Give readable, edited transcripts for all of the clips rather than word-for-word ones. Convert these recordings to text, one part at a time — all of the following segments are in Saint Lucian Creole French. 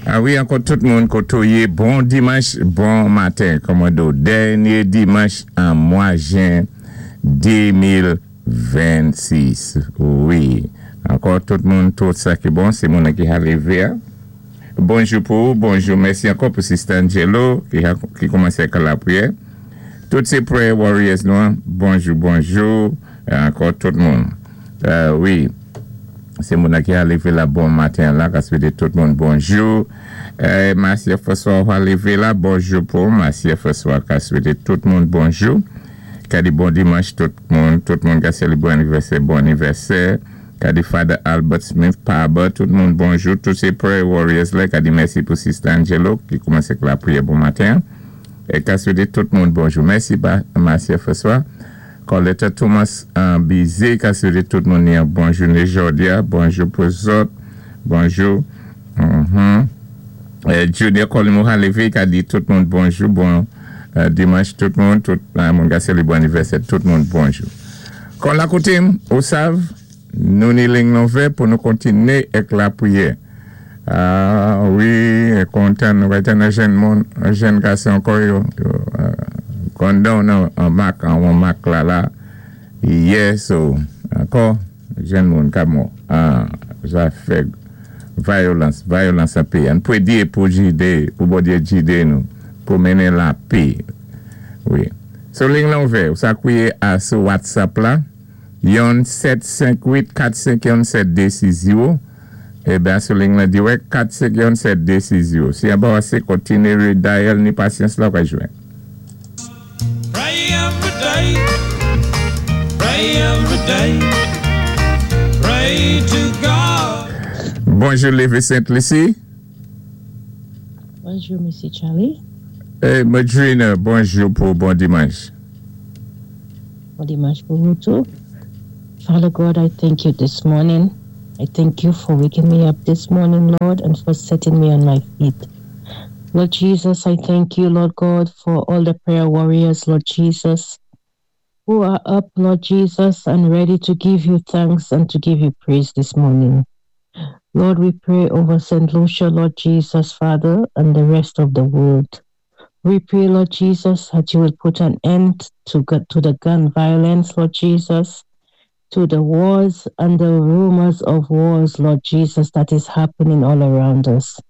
A wi, ankò tout moun koté ou yé, bon dimanch, bon maten. Kòman do, dènyé dimanch an mwa jen 2026. Wi, ankò tout moun, tout sa ki bon, sé moun ki ka lévé. Bonjou pou ou, bonjou, mèsi ankò pou Sister Angelo ki kòmansé ak lapriyè. Tout sé prayer warriors nou, bonjou, bonjou, ankò tout moun. Wi, sé moun ki ka lévé la bon maten la, ka swété tout moun bonjou. Marcia François ka lévé la, bonjou pou Marcia François ka swété tout moun bonjou. Ka di bon dimanch tout moun ka sélébwé anivèsè, bon anivèsè. Ka di Father Albert Smith, Paba, tout moun bonjou. Tout sé prayer warriors la, ka di mèsi pou Sister Angelo ki kòmansé ak lapriyè bon maten. É ka swété tout moun bonjou. Mèsi Marcia François. Coletta Thomas Bizet, ka swété tout moun yon bon jounen jòdi a. Bonjou pou zòt. Bonjou. Junior Colimo Halevé ka di tout moun bonjou. Bon dimanch tout moun. Tout moun ka sélébwé anivèsè. Tout moun bonjou. Kon la koutim, ou sav, nou ni ling nou vè pou nou kontiné ak lapriyè. Ah, wi, kontan, nou va tann jenn moun, jenn gason ankò yo kondan nan an mak, an mak la la. Yes, so, ankò, jenn moun ka mò. Ah, zafè vyolans, vyolans an péyi. An pwédyé pou jidé, pou Bondyé jidé nou, pou mennen lapè. Wi. So, ling lan ouvè, ou sa kwiyé a sou WhatsApp la, 1 7 5 8 4 5 1 7 2 6 0. Eben, sou ling lan dirèk 4 5 1 7 2 6 0. Si an pa wase, kontiné dial ni pasyans la, ou ka jwenn. Pray every day, pray every day, pray to God. Bonjou, Lévé Sainte-Lucie. Bonjou, Mesye Charlie. Hey, Madrina, bonjou pou bon dimanch. Bon dimanch pou ou tou. Father God, I thank you this morning. I thank you for waking me up this morning, Lord, and for setting me on my feet. Lord Jesus, I thank you, Lord God, for all the prayer warriors, Lord Jesus, who are up, Lord Jesus, and ready to give you thanks and to give you praise this morning. Lord, we pray over St. Lucia, Lord Jesus, Father, and the rest of the world. We pray, Lord Jesus, that you will put an end to the gun violence, Lord Jesus, to the wars and the rumors of wars, Lord Jesus, that is happening all around us.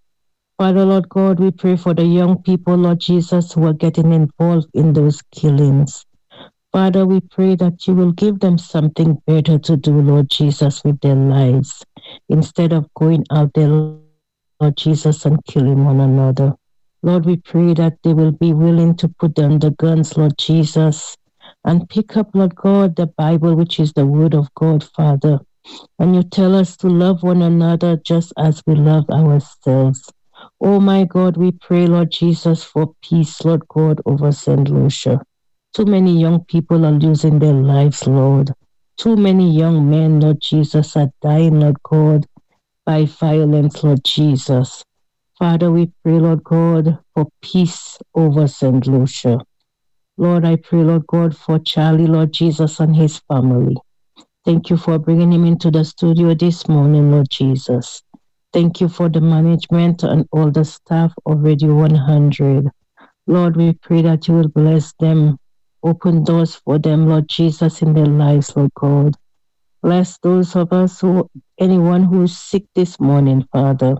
Father, Lord God, we pray for the young people, Lord Jesus, who are getting involved in those killings. Father, we pray that you will give them something better to do, Lord Jesus, with their lives, instead of going out there, Lord Jesus, and killing one another. Lord, we pray that they will be willing to put down the guns, Lord Jesus, and pick up, Lord God, the Bible, which is the Word of God, Father. And you tell us to love one another just as we love ourselves. Oh my God, we pray, Lord Jesus, for peace, Lord God, over St. Lucia. Too many young people are losing their lives, Lord. Too many young men, Lord Jesus, are dying, Lord God, by violence, Lord Jesus. Father, we pray, Lord God, for peace over St. Lucia. Lord, I pray, Lord God, for Charlie, Lord Jesus, and his family. Thank you for bringing him into the studio this morning, Lord Jesus. Thank you for the management and all the staff of Radio 100. Lord, we pray that you will bless them, open doors for them, Lord Jesus, in their lives, Lord God. Bless those of us who, anyone who is sick this morning, Father.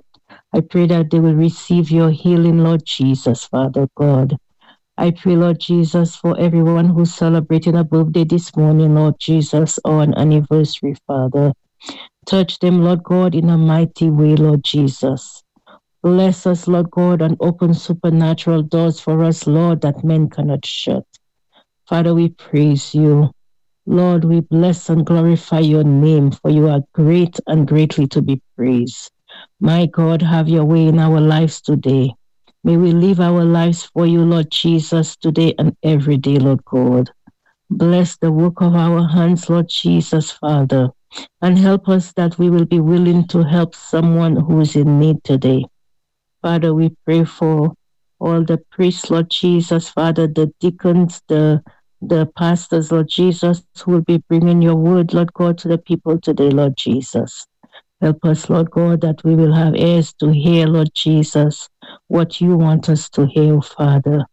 I pray that they will receive your healing, Lord Jesus, Father God. I pray, Lord Jesus, for everyone who's celebrating a birthday this morning, Lord Jesus, or an anniversary, Father. Touch them, Lord God, in a mighty way, Lord Jesus. Bless us, Lord God, and open supernatural doors for us, Lord, that men cannot shut. Father, we praise you. Lord, we bless and glorify your name, for you are great and greatly to be praised. My God, have your way in our lives today. May we live our lives for you, Lord Jesus, today and every day, Lord God. Bless the work of our hands, Lord Jesus, Father, and help us that we will be willing to help someone who is in need today. Father, we pray for all the priests, Lord Jesus, Father, the deacons, the pastors, Lord Jesus, who will be bringing your word, Lord God, to the people today, Lord Jesus. Help us, Lord God, that we will have ears to hear, Lord Jesus, what you want us to hear, Father.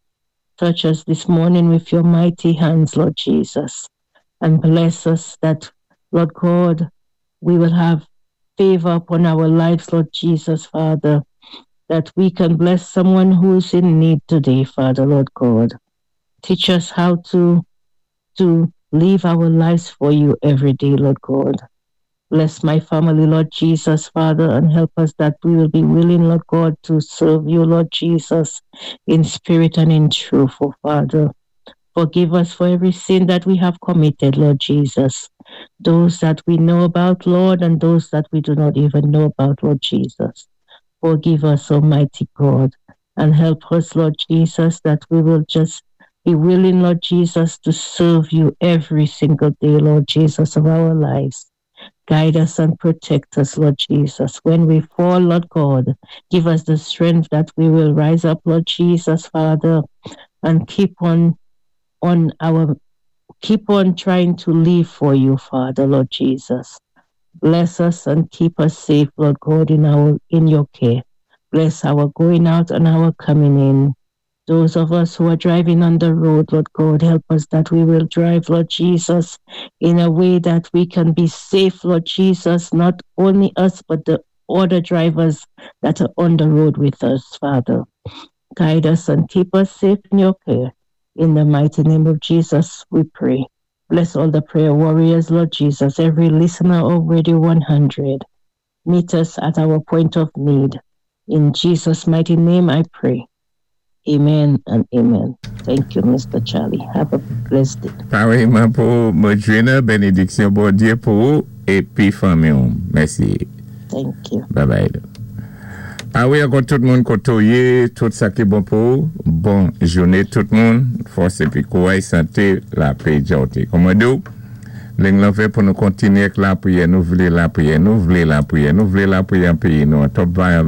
Touch us this morning with your mighty hands, Lord Jesus, and bless us that, Lord God, we will have favor upon our lives, Lord Jesus, Father, that we can bless someone who is in need today, Father, Lord God. Teach us how to live our lives for you every day, Lord God. Bless my family, Lord Jesus, Father, and help us that we will be willing, Lord God, to serve you, Lord Jesus, in spirit and in truth, oh Father. Forgive us for every sin that we have committed, Lord Jesus. Those that we know about, Lord, and those that we do not even know about, Lord Jesus. Forgive us, Almighty God, and help us, Lord Jesus, that we will just be willing, Lord Jesus, to serve you every single day, Lord Jesus, of our lives. Guide us and protect us, Lord Jesus. When we fall, Lord God, give us the strength that we will rise up, Lord Jesus, Father, and keep on trying to live for you, Father, Lord Jesus. Bless us and keep us safe, Lord God, in your care. Bless our going out and our coming in. Those of us who are driving on the road, Lord God, help us that we will drive, Lord Jesus, in a way that we can be safe, Lord Jesus, not only us, but the other drivers that are on the road with us, Father. Guide us and keep us safe in your care. In the mighty name of Jesus, we pray. Bless all the prayer warriors, Lord Jesus, every listener of Radio 100. Meet us at our point of need. In Jesus' mighty name, I pray. Amen and amen. Thank you, Mr. Charlie. Have a blessed day. Pareillement pou Modjina, bénédiction Bondié pou ou épi fanmi. Mèsi. Thank you. Bye bye. Ah wi, ankò tout moun kotoyé, tout sa ki bon pou ou. Bon jouné tout moun. Fòs épi kouray, santé, lapè, djòté. Kòman dou? Ling lan fè pou nou kontinyé ak lapriyè, nou vlé lapriyè, nou vlé lapriyè, nou vlé lapriyè an péyi nou, an top violence.